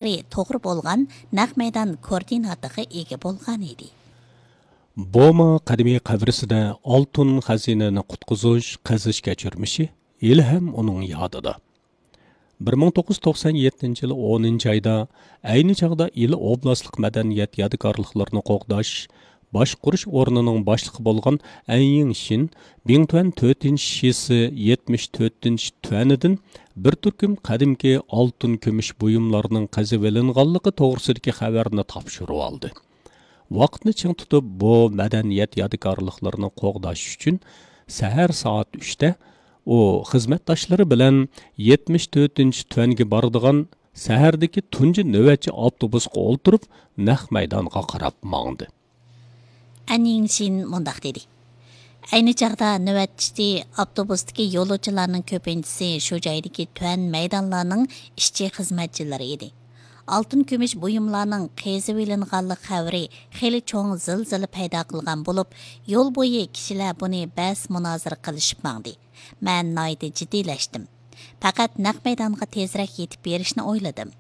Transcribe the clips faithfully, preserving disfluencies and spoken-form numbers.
توغرا بولغان نەق مەيدان كوئوردىناتىغا ئىگە بولغان ئىدى. بوما قەدىمىي قەبرىسىدە ئالتۇن خەزىنىنى قۇتقۇزۇش، قېزىش كەچۈرمىشى ھېلىھەم ئۇنىڭ يادىدا. بىر مىڭ توققۇز يۈز توقسان يەتتىنچى يىل ئونىنچى ئايدا ئەينى چاغدا ئىلى ئوبلاستلىق مەدەنىيەت يادىكارلىقلىرىنى قوغداش، باشقۇرۇش ئورنىنىڭ باشلىقى بولغان ئەن يىڭشىن بىڭتۈەن تۆتىنچى شىسى يەتمىش تۆتىنچى تۈەنىدىن بىر تۈركۈم قەدىمكى ئالتۇن كۈمۈش بۇيۇملارنىڭ قېزىۋېلىنغانلىقى توغرىسىدىكى خەۋەرنى تاپشۇرۇۋالدى. ۋاقىتنى چىڭ تۇتۇپ، بۇ مەدەنىيەت يادىكارلىقلىرىنى قوغداش ئۈچۈن سەھەر سائەت ئۈچتە ئۇ خىزمەتداشلىرى بىلەن يەتمىش تۆتىنچى تۈەنگە بارىدىغان سەھەردىكى تۇنجى نۆۋەتچى ئاپتوبۇسقا ئولتۇرۇپ، نەق مەيدانغا قاراپ ماڭدى. ئەن يىڭشىن مۇنداق دېدى: ئەينى چاغدا نۆۋەتچى ئاپتوبۇستىكى يولۇچىلارنىڭ كۆپىنچىسى شۇ جايدىكى تۈەن مەيدانلارنىڭ ئىشچى خىزمەتچىلىرى ئىدى. ئالتۇن كۈمۈش بۇيۇملارنىڭ قېزىۋېلىنغانلىق خەۋىرى خېلى چوڭ زىلزىلە پەيدا قىلغان بولۇپ، يول بويى كىشىلەر بۇنى بەس مۇنازىرە قىلىشىپ ماڭدى. مەن ناھايىتى جىددىيلەشتىم. پەقەت نەق مەيدانغا تېزرەك يېتىپ بېرىشنى ئويلىدىم.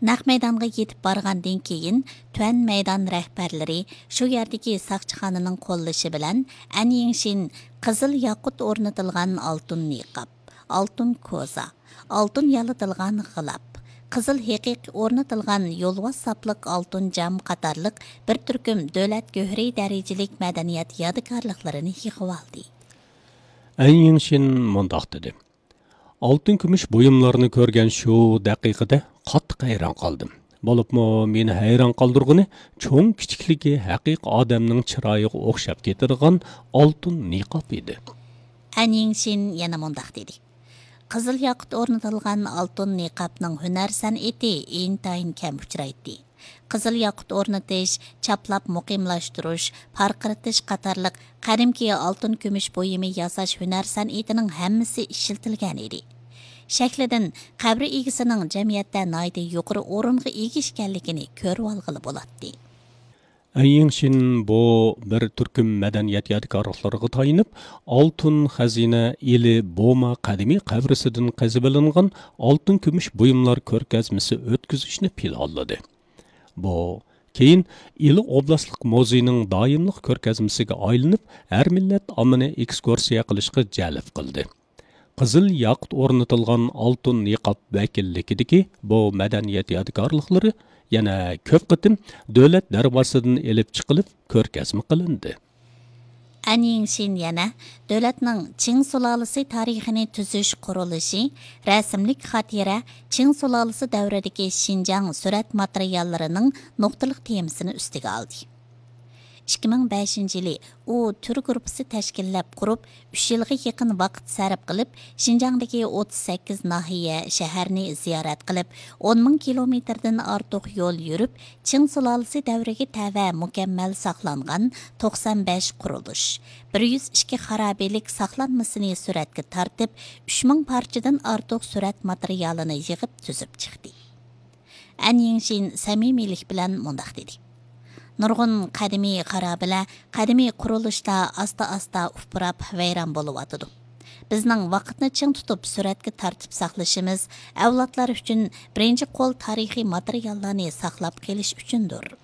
نەق مەيدانغا يېتىپ بارغاندىن كېيىن، تۈەن مەيدان رەھبەرلىرى شۇ يەردىكى ساقچىخانىنىڭ قوللىشى بىلەن ئەن يىڭشىن قىزىل ياقۇت ئورنىتىلغان ئالتۇن نىقاب، ئالتۇن كوزا، ئالتۇن يالىتىلغان غىلاپ، قىزىل ھېقىقى ئورنىتىلغان يولۋاس ساپلىق ئالتۇن جام قاتارلىق بىر تۈركۈم دۆلەت گۆھىرى دەرىجىلىك مەدەنىيەت يادىكارلىقلىرىنى يىغىۋالدى. ئەن يىڭشىن مۇنداق دېدى: ئالتۇن كۈمۈش بۇيۇملارنى كۆرگەن شۇ دەقىقىدە قاتتىق ھەيران قالدىم. بولۇپمۇ مېنى ھەيران قالدۇرغىنى، چوڭ كىچىكلىكى ھەقىقىي ئادەمنىڭ چىرايىغا ئوخشاپ كېتىدىغان ئالتۇن نىقاب ئىدى. ئەن يىڭشىن يەنە مۇنداق دېدى: قىزىل ياقۇت ئورنىتىلغان ئالتۇن نىقابنىڭ ھۈنەر سەنئىتى ئىنتايىن كەم ئۇچرايتتى. قىزىل ياقۇت ئورنىتىش، چاپلاپ مۇقىملاشتۇرۇش، پارقىرىتىش قاتارلىق قەدىمكى ئالتۇن كۈمۈش بۇيۇمى ياساش ھۈنەر سەنئىتىنىڭ ھەممىسى ئىشلىتىلگەن ئىدى. شەكلىدىن قەبرە ئىگىسىنىڭ جەمئىيەتتە ناھايىتى يۇقىرى ئورۇنغا ئىگە ئىكەنلىكىنى كۆرۈۋالغىلى بولاتتى. ئەن يىڭشىن بۇ بىر تۈركۈم مەدەنىيەت يادىكارلىقلىرىغا تايىنىپ، ئالتۇن خەزىنە ئىلى بوما قەدىمىي قەبرىسىدىن قېزىۋېلىنغان ئالتۇن كۈمۈش بۇيۇملار كۆرگەزمىسى ئۆتكۈزۈشنى پىلانلىدى. بۇ كېيىن ئىلى ئوبلاستلىق مۇزېيىنىڭ دائىملىق كۆرگەزمىسىگە ئايلىنىپ، ھەر مىللەت ئاممىنى ئېكسكۇرسىيە قىلىشقا جەلپ قىلدى. قىزىل ياقۇت ئورنىتىلغان ئالتۇن نىقاب ۋەكىللىكىدىكى بۇ مەدەنىيەت يادىكارلىقلىرى يەنە كۆپ قېتىم دۆلەت دەرۋازىسىدىن ئېلىپ چىقىلىپ كۆرگەزمە قىلىندى. ئەن يىڭشىن يەنە دۆلەتنىڭ چىڭ سۇلالىسى تارىخىنى تۈزۈش قۇرۇلۇشى، رەسىملىك خاتىرە، چىڭ سۇلالىسى دەۋرىدىكى شىنجاڭ سۈرەت ماتېرىياللىرىنىڭ نۇقتىلىق تېمىسىنى ئۈستىگە ئالدى. ئىككى مىڭ بەشىنچى يىلى ئۇ تۈر گۇرۇپپىسى تەشكىللەپ قۇرۇپ، ئۈچ يىلغا يېقىن ۋاقىت سەرپ قىلىپ، شىنجاڭدىكى ئوتتۇز سەككىز ناھىيە، شەھەرنى زىيارەت قىلىپ، ئون مىڭ كىلومېتىردىن ئارتۇق يول يۈرۈپ، چىڭ سۇلالىسى دەۋرىگە تەۋە مۇكەممەل ساقلانغان توقسان بەش قۇرۇلۇش، بىر يۈز ئىككى خارابىلىك ساقلانمىسىنى سۈرەتكە تارتىپ، ئۈچ مىڭ پارچىدىن ئارتۇق سۈرەت ماتېرىيالىنى يىغىپ تۈزۈپ چىقتى. ئەن يىڭشىن سەمىمىيلىك بىلەن مۇنداق دېدى: نۇرغۇن قەدىمىي خارابىلەر، قەدىمىي قۇرۇلۇشلار ئاستا-ئاستا ئۇپراپ ۋەيران بولۇۋاتىدۇ. بىزنىڭ ۋاقىتنى چىڭ تۇتۇپ سۈرەتكە تارتىپ ساقلىشىمىز ئەۋلادلار ئۈچۈن بىرىنچى قول تارىخىي ماتېرىياللارنى ساقلاپ قېلىش ئۈچۈندۇر.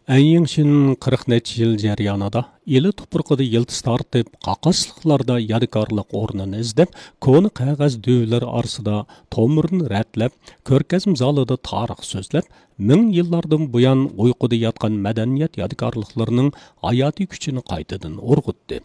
ئەن يىڭشىن قىرىق نەچچە يىل جەريانىدا ئىلى تۇپرىقىدا يىلتىز تارتىپ، قاقاسلىقلاردا يادىكارلىق ئورنىنى ئىزدەپ، كونا قەغەز دۈۋىلىرى ئارىسىدا تومۇرىنى رەتلەپ، كۆرگەزمە زالىدا تارىخ سۆزلەپ، مىڭ يىللاردىن بۇيان ئۇيقۇدا ياتقان مەدەنىيەت يادىكارلىقلىرىنىڭ ھاياتىي كۈچىنى قايتىدىن ئۇرغۇتتى.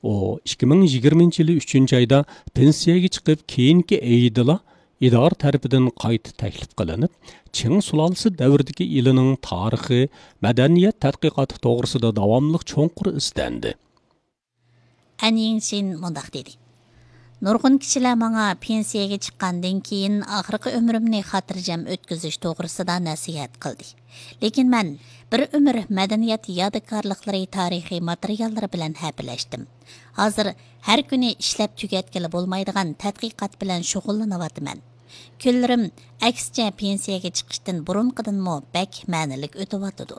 ئۇ ئىككى مىڭ يىگىرمىنچى يىلى ئۈچىنچى ئايدا پېنسىيەگە چىقىپ، كېيىنكى ئېيىدىلا ئىدارە تەرىپىدىن قايتا تەكلىپ قىلىنىپ، چىڭ سۇلالىسى دەۋرىدىكى ئىلىنىڭ تارىخى، مەدەنىيەت تەتقىقاتى توغرىسىدا داۋاملىق چوڭقۇر ئىزدەندى. ئەن يىڭشىن مۇنداق دېدى: نۇرغۇن كىشىلەر ماڭا پېنسىيەگە چىققاندىن كېيىن ئاخىرقى ئۆمرۈمنى خاتىرجەم ئۆتكۈزۈش توغرىسىدا نەسىھەت قىلدى. لېكىن مەن بىر ئۆمۈر مەدەنىيەت يادىكارلىقلىرى تارىخىي ماتېرىياللىرى بىلەن ھەپىلەشتىم. ھازىر ھەر كۈنى ئىشلەپ تۈگەتكىلى بولمايدىغان تەتقىقات بىلەن شۇغۇللىنىۋاتىمەن. كۈنلىرىم، ئەكسىچە، پېنسىيەگە چىقىشتىن بۇرۇنقىدىنمۇ بەك مەنىلىك ئۆتۈۋاتىدۇ.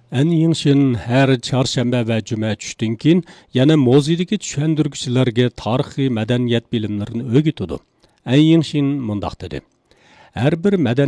ئەن يىڭشىن ھەر چارشەنبە ۋە جۈمە چۈشتىن كېيىن يەنە مۇزېيدىكى چۈشەندۈرگۈچىلەرگە تارىخىي مەدەنىيەت بىلىملىرىنى ئۆگىتىدۇ. ئەن يىڭشىن مۇنداق دېدى: ھەر بىر مەدەنىيەت